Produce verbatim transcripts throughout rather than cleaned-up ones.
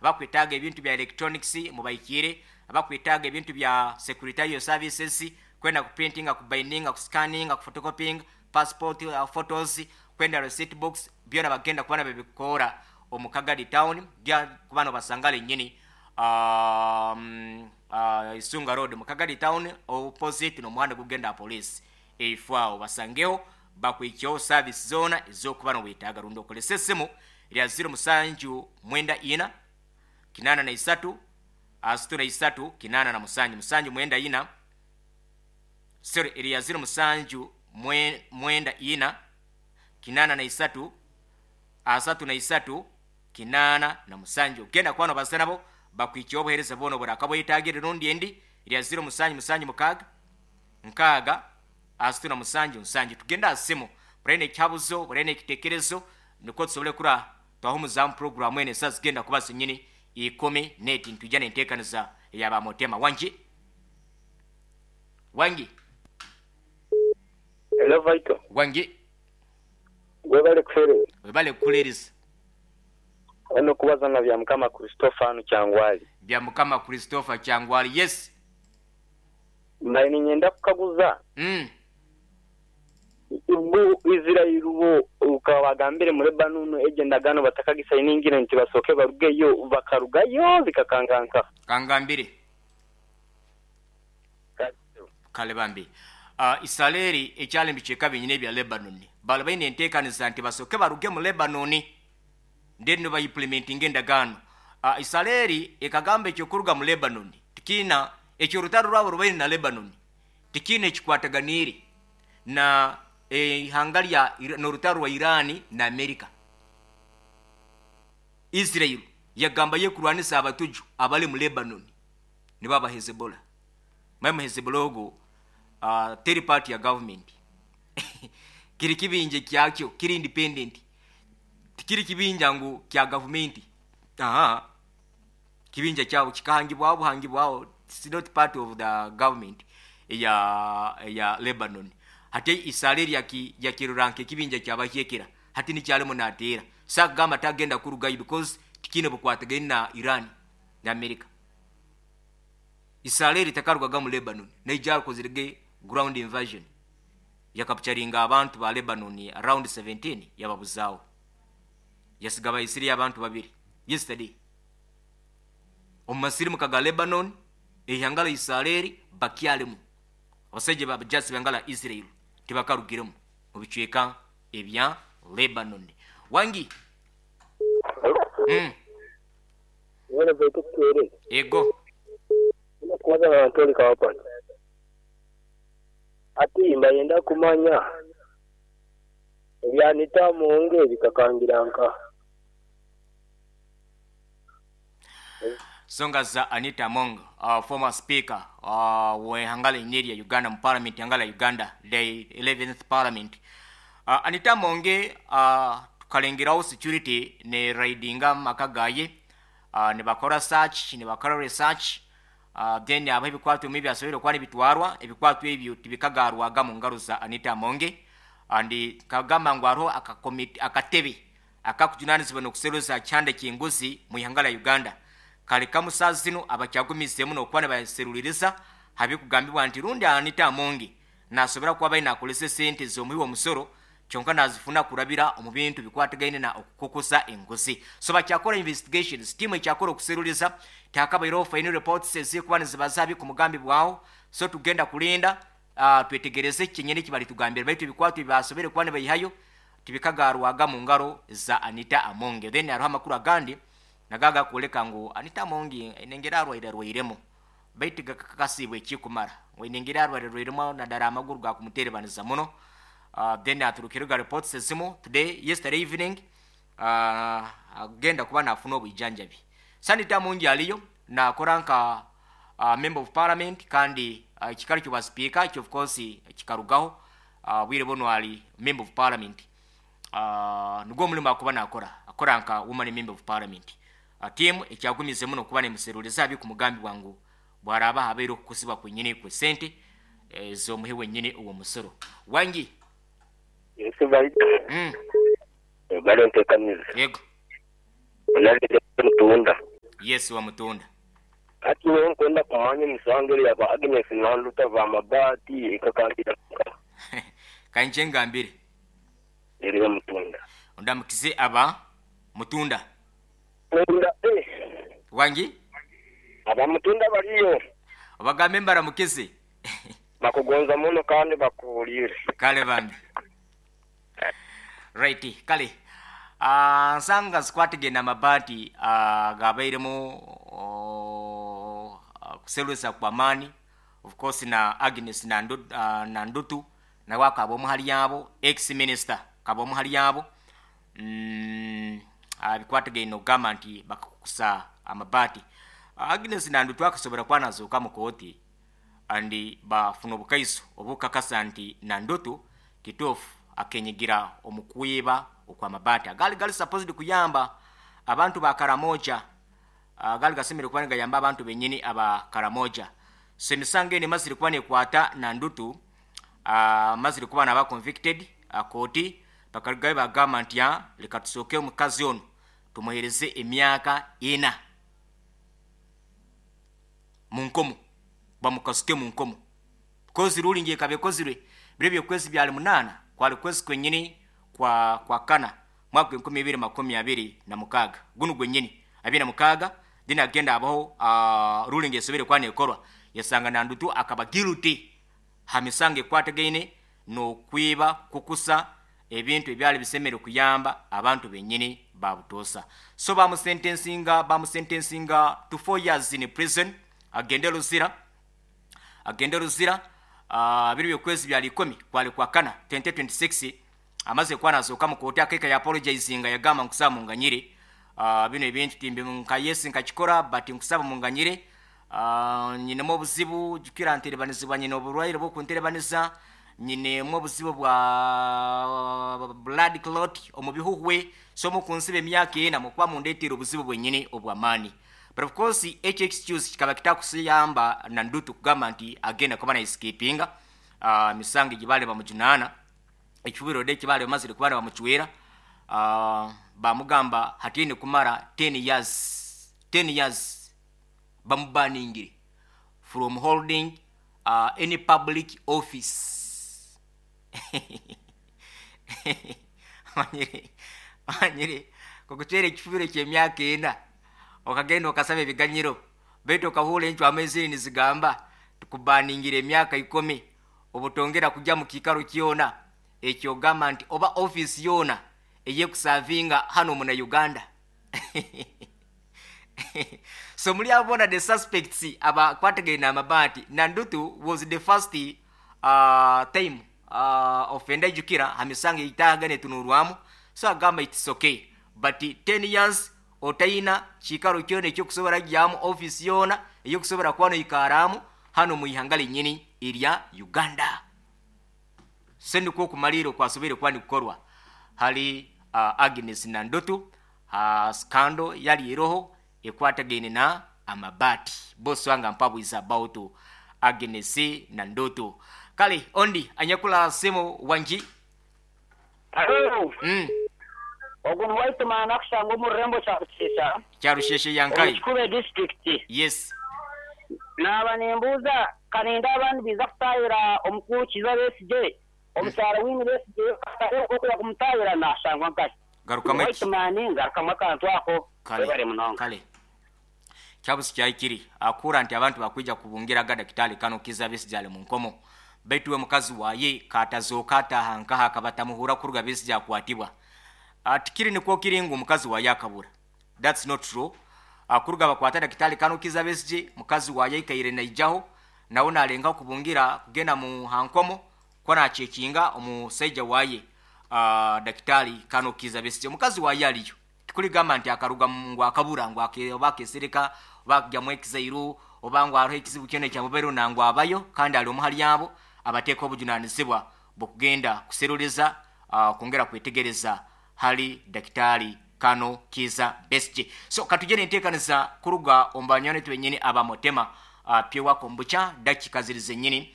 Abakwetaaga ebintu bya electronics mubaikire, abakwetaaga ebintu bya secretarial services, kwenda kuprintinga, kubindinga, kuscanninga, kuphotocopying passport uh, photos, kwenda receipt books, byona bagenda kuba nabibikora omu Kagadi Town. Gya kuba nobasangale nyini um, uh, Isunga Road mu Kagadi Town, opposite n'omuhanda gugenda police eifo. Basangeho bakwikyeho service zona ezokuba nowetaaga, rundi okolesa esimu lya zero musanju mwenda ina kinana na isatu asatu na isatu kinana na musanju, musanju mwenda ina, sorry, erya zero musanju mwe- mwenda ina kinana na isatu asatu na isatu kinana na musanju. Genda kuba nobasa nabo bakwikyeho obuhereza bwona oburakabwetagire, rundi endi erya zero musanju musanju mukaaga nkaaga asatu na musanju nsanju. Tugenda aha simu, buraine ekyabuzo, buraine ekitekerezo, nikwo tusobole kura twahumuzamu programu eno. Esa zigenda kuba zinyini ikumi neti, ntujja nenteekaniza eyabamotema. Wangi, wangi. Hello, Vital. Wangi. Webale kufere. Webale kukuleereza. Ono kubaza na bya Mukama Christopher anu Kyangwali. Bya Mukama Christopher Kyangwali, yes. Mbaye ninyenda kukaguza. mm. Ubu Israel bo ukabagambire muri Lebanon eje ndagano batakagisayiningira nti basoke barugeyo, bakarugayo bikakanganka. Kangambire kale bambi. uh, Israeli ekyali mbiceka binyine ebya Lebanon, bali baine enteekaniza nti basooke baruge mu Lebanon, then bayimplementinga endagaano. uh, israeli ekagamba ekyokuruga mu Lebanon tikiina ekyo, orutaro rwabo rubaine na Lebanon tikiina ekikwataganiire na ihanga lya n'orutaro rwa Irani na Amerika. Israel yagamba yekurwanisa abatuju abali mu Lebanon, nibo aba Hezbollah. Maimu Hezbollah ogo uh, third party ya government, kiri kibinja kyakyo kiri independent, tikiri kibinja ngu kya gavumenti. Aha, kibinja kyabo kikahangibwaho buhangibwaho, it's not part of the government ya ya Lebanon. Hati Israeli yaki yakiruranka ekibinja kyabahyekera, hati nikyalimu nateera sakugamba tagenda kurugayo because tikine bukwatagaine na Iran na America. Israeli takarugaga mu Lebanon, naija akozerege ground invasion, yakapcharinga abantu ba Lebanon around seventeen, yababuzaawo, yasiga Baisiraeli abantu babiri yesterday omu masirimuka ga Lebanon. Eihanga la Israeli bakyalimu abasajja babajasi b'ihanga la Israel, tibakarugiremu mu bicweka ebya Lebanon. Wangi. mm. Wena Vital tuere. Ego. Kubaza na Antoli Kawapani. Ati mbayenda kumanya ebyanita Amonge bikakangira nka. Songa za Anita Among, uh, former speaker uh, w'ehanga linye lya Uganda mu parliament ihanga lya Uganda, the eleventh parliament. uh, Anita Amonge, uh, tukalengerawo security ne raidinga maka gaye, uh, ne bakora search, ne bakora research, uh, then abo ebikwato bimwe byasobere okuba nibitwarwa, ebikwato ebyo tibikagarwaga mu ngaro za Anita Amonge. And kagamba ngu hariho akakomiti, akatebe akakujunanizibwa n'okuseruza kyanda ky'enguzi mu ihanga lya Uganda, kale kamusazi zino abakyagumizeemu n'okuba nibaseruliriza habikugambibwa nti rundi Anita Amonge nasobora kuba baine nakolesa esente z'omuhi w'omusoro, kyonka nazifuna kurabira omu bintu bikwatagaine na okukukusa enguzi. So bakyakora investigations, tiimu ekyakora okuseruliza, tihakabaireho final reports ezikuba nizibaza ku mugambi bwaho. So tugenda kulinda, uh, twetegereze kyenyini kibali tugambire, baitu ebikwato ebibasobere kuba nibaihayo tibikagarwaga mu ngaro za Anita Amonge. Then hariho amakuru agandi nagaga kwoleka ngu Anita Amonge enengera arwaire arwairemu, baitu gakakasibwe ekikumara ngu enengera arwaire arwairemu nadara amaguru gakumuterebaniza muno. uh, then aturukirega reports ezimu today, yesterday evening, uh, agenda kuba nafuna obwijanjabi. Anita Amonge aliyo nakora nka uh, member of parliament, kandi uh, ekikaro kyoba speaker kyo of course kikarugaho. uh, bwire buno ali member of parliament, uh, nigwo omulimu akuba nakora, akora nka woman member of parliament. uh, team ekyagumize muno kuba nemuseruriza abi ku mugambi bwangu bwaraba habaire okukusibwa kwenyini kwe sente ez'omuhi wenyini uwo musoro. Wangi. Yes, Vital. mm. Bale ntekaniza. Yego. Onalete mutunda. Yes, wa Mutunda. Ati wewe nkwenda kumanya emisango eri yaba Agnes Nandutu ava amabaati ekakandira Kanje ngambire. Eri Mutunda. Ondamukize aba Mutunda. Mutunda eh. Wangi? Aba Mutunda baliyo. Obagambe mbaramukize. Bakugonza muno kandi bakuwulire. Kale bambi. Right, kale. Uh, nsanga zikwatigenda amabaati uh, gabairemu uh, kuselwesa kwa maani of course na Agnes Nandu, uh, Nandutu nawe akaba omuhali yabo ex minister kaba omuhali yabo mm, uh, bikwatagaine okugamba nti bakakukusa amabaati. uh, Agnes Nandutu akasobora kwanazuuka mu kooti andi bafuna obukaiso obukakasa nti Nandutu kituufu akenyigira omukuyiba okwamabaati agali gali supposed kuyamba abantu ba Karamoja, agali gasemere kuba nigayamba abantu benyini aba Karamoja. So emisango eno emazire kuba nekwata Nandutu, uh, mazire kuba naba convicted akooti bakarugayo bagamba nti leka tusooke omukazi ono tumuhereze emyaka ena mu nkomo, bamukasuke mu nkomo kozi ruling ekaba ekozirwe biro byokwezi byali munaana kwali kwezi kwenyini kwa kwa kana mwaka enkumi ibiri makumi abiri na mukaaga guno gwenyini abiri na mukaaga then agenda abaho uh, ruling esobere kuba nekorwa yasanga Nandutu akaba guilty ha misango ekwatagaine n'okwiba kukusa ebintu ebyali bisemere kuyamba abantu benyini babutosa. So bamusentensinga bamusentensinga to four years in prison, agende Luzira agende Luzira uh, biri byokwezi byali ikumi kwali kwa kana twenty twenty-six amaze kwanazuuka mu kooti akeka ya apologizinga yagamba nkusaba munganyire uh, bino ebintu timbi nka yes nkakikora but nkusaba munganyire uh, nyinemu obuzibu jukira nterebanizibwa nyine oburwaire bw'okunterebaniza nyinemu obuzibu bwa blood clot omu bihuhwe so mukunsiba emyaka ena mukuba mundeetera obuzibu bwenyini obw'amaani. But of course ekyo excuse kikaba kitakusiyamba Nandutu kugamba nti agenda kuba na escapinga uh, misango gibale bamujunaana ekibiro de kibale bamazire kuba bamuchwera uh, bamugamba hatine kumara ten years ten years bamubaningire from holding uh, any public office. Manyire manyire kukuchwera ekifubiro ky'emyaka ena okagenda okasaba ebiganyiro baitu okahura enchwa amezi nizigamba tukubaningire emyaka ikumi obutongera kujja mu kiikaro kyona ekyo gamba nti oba office yona eyekusavinga hano muna Uganda. So muli abona the suspects abakwatagaine amabaati Nandutu was the first uh, time uh, offender jukira hamisango itaga netunurwamu so agamba it's okay but ten years otaina kiikaro kyona ekyokusobora gyamu office yona eyokusobora kuba noikaramu hano mu ihanga linyini erya Uganda. Sendiko okumalira okwasobere kuba nikukorwa hali uh, Agnes Nandutu uh, scandal yali eroho ekwatagaine na amabaati boss wanga mpabwiza about Agnes Nandutu. Kale ondi anyakula simu wanji. Hello. Mm. Ogu white man akushanga omu rurembo Kyarusheshe. Kyarusheshe yankai. Kikube district. Yes. Naba nembuuza kaninda abandi biza kutayira omukuru Kizza Besigye omukyala wini Besigye okuya kumutayira nashangwa nkahi. Garukamu White man ngarukamu akantu ako. Kale. Kale. Kyabusi kyaikiri akura nti abantu bakwija kubungira ga Dakitali Kano Kizza Besigye ali mu nkomo baitu we mukazi waye katazooka ataha nkaha akabatamuhura kuruga Besigye akwatibwa. Atikiri nikwo kiringu mukazi waye akabura. That's not true. Akuruga bakwata Dakitali Kano Kizza Besigye mukazi waye ikaire naijaho nawe nalenga kubungira kugenda mu hankomo kwa nachekinga omusajja waye uh, Dakitali Kano Kizza Besigye mukazi waye aliyo tikuligamba nti akaruga ngu akabura ngu oba akesereka oba akugyamu ekizairu oba ngu hariho ekizibu kyona ekyamubaire nangwa abayo kandi ali omuhali yabo abateeka obujunanizibwa bw'okugenda kuseruleza uh, kwongera kwetegereza hali Dakitali Kano Kizza Besigye. So katujene enteekaniza kuruga omu banywani twenyini abamotema uh, pyewa kombucha dakika ziri zenyini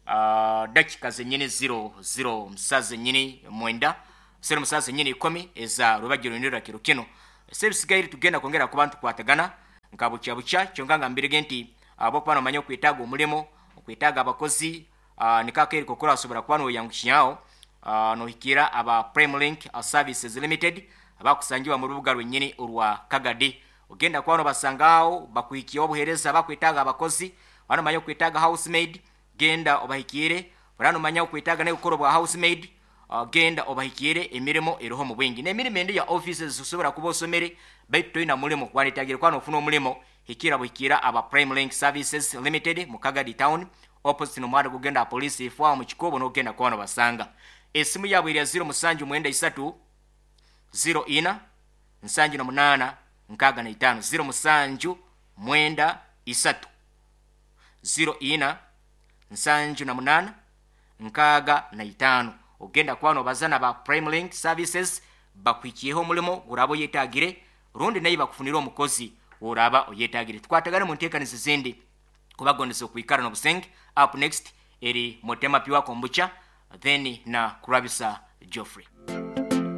uh, dakika zenyini zero zero musa zenyini mwenda sero musa zenyini ikumi eza rubagiro nirira kiro kino sebisigaire tugenda kwongera kuba ntukwatagana Nka bukya bukya kyonka nga mbirege nti abokuba nomanya okwetaaga omulimo, okwetaaga abakozi, uh, nikakeri kokora asobora kuba noyangukyaho, uh, nohikira aba Prime Link uh, Services Limited abakusangiwa mu rubuga rwennyini orwa Kagadi. Ogenda kuba nobasangaawo bakuhikiyeho obuheereza. Bakwetaaga abakozi, banomanya okwetaaga housemaid, genda obahikire. Oranomanya okwetaaga naye gukora obwa housemaid, uh, genda obahikire. Emirimo eriho mu bwingi n'emirimo endi ya offices. Osobola kuba osomere baitu toyina mulimo, wanetagire kuba nofuna omulimo, hikira buhikira aba Prime Link Services Limited mu Kagadi Town, opposite n'omuhanda gugenda police ifwaho mu kikubo, n'ogenda kuba nobasanga. Esimu yabwe erya zero musanju mwenda isatu zero ina nsanju na munana nkaaga na itaano, zero musanju mwenda isatu zero ina nsanju na munana nkaaga na itaano. Ogenda kuba nobaza na ba Prime Link Services, bakuhikiyeho omulimo guraba oyetagire, rundi naye bakufunire omukozi woraba oyetagire. Tukwatagane mu nteekanizo ezindi, kubagondesa okwikara n'obusenge. Up next eri Motema Pure Kombucha, then na Kurabisa Geoffrey.